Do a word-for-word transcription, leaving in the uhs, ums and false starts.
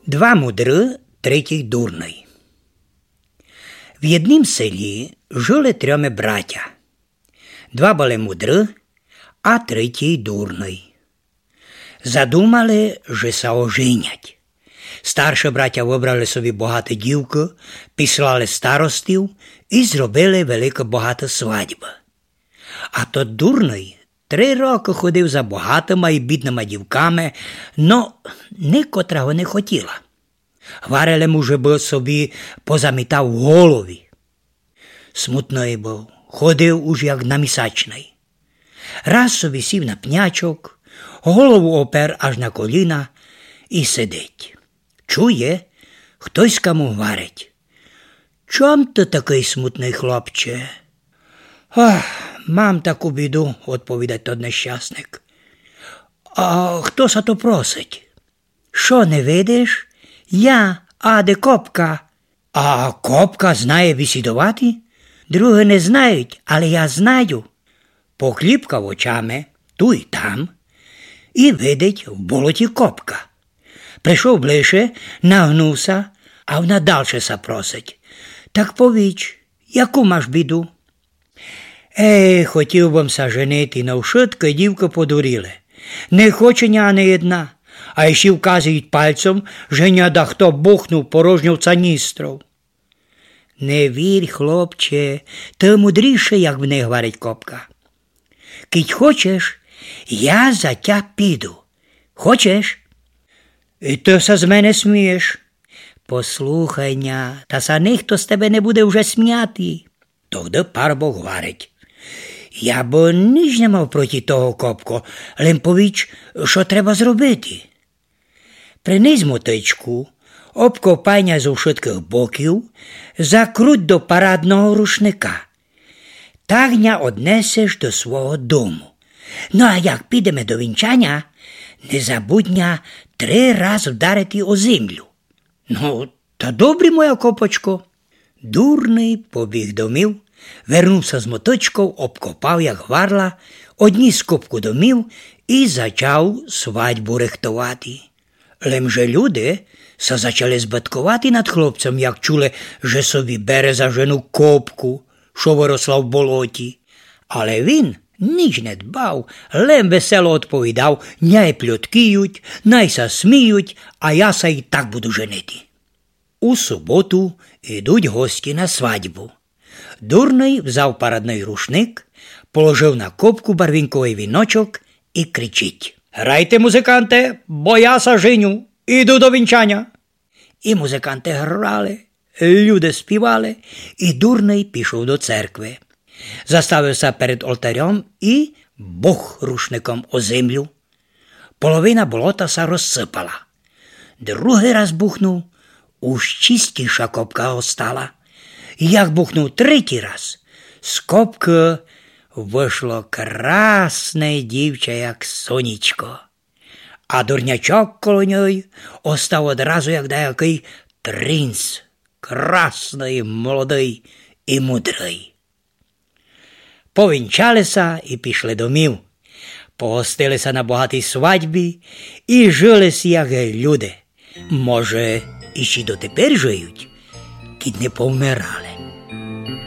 Два мудры, третій дурный. В єднім селі жыли трьоме братя. Два были мудры, а третій дурный. Задумали, же ся оженять. Старші братя выбрали собі богаты дівкы, післали старостів і зробили велика богата свадьба. А тот дурный три рокы ходив за богатыма і бідныма дівками, но никотра го не хотіла. Гварили му, жебы собі позамітав голові. Смутный быв, ходив уж як намісачный. Раз собі сів на пнячок, голову опер аж на коліна і сидить. Чує, хтоська му гварить: «Чом ты такый смутный, хлопче?» «Ах, мам таку біду», — одповідать тот нещасник. «А хто ся то просить?» «Што не видиш? Я, аде, копка». «А копка знає бісідовати?» «Другі не знають, але я знаю». Покліпкав очами ту й там і видить в болоті копка. Пришов ближе, нагнув ся, а вона дальше ся просить: «Так повіч, яку маш біду?» «Ей, хотів бым ся женити, но вшыткы дівкы подуріли. Не хоче ня ани єдна, а іщи вказують пальцем, же ня дахто бухнув порожньов цаністров». «Не вір, хлопче, ты мудрішый, як в них», — гварить копка. «Кідь хочеш, я за тя піду. Хочеш?» «І ты ся з мене смієш?» «Послухай ня, та ся нихто з тебе не буде вже сміяти». Тогды парубок гварить: «Я бы ніч не мав проти того, копко, лем повіч, што треба зробити». Принись мотичку, обкопай ня зо вшыткых боків, закруть до парадного рушника. Так ня однесеш до свого дому. Ну, а як підеме до вінчаня, не забудь ня три раз вдарити о землю. Ну, та добрі, моя копочко. Дурный побіг домів, вернув ся з моточков, обкопав, як гварла, одніс копку домів і зачав свадьбу рыхтовати. Лем же люди ся зачали збытковати над хлопцем, як чули, же собі бере за жену копку, што выросла в болоті. Але він ніч не дбав, лем весело одповідав: «Най пльоткіють, най ся сміють, а я ся і так буду женити». У суботу йдуть гості на свадьбу. Дурный взяв парадный рушник, положив на копку барвінковый віночок і кричить: «Грайте, музыканте, бо я ся женю, іду до вінчаня». І музыканты грали, люди співали, і дурный пішов до церкви. Заставив ся перед олтарьом і бух рушником о землю. Половина болота ся розсыпала. Другый раз бухнув, уж чистіша копка остала. Як бухнув третій раз, з копкы вышло красне дівча, як сонечко. А дурнячок коло ньой остав одразу, як даякый принц, красный, молодый і мудрый. Повінчали ся і пішли домів. Погостили ся на богатій свадьбі і жыли сі, як люди. Може, іщи дотепер жыють, кідь не повмирали.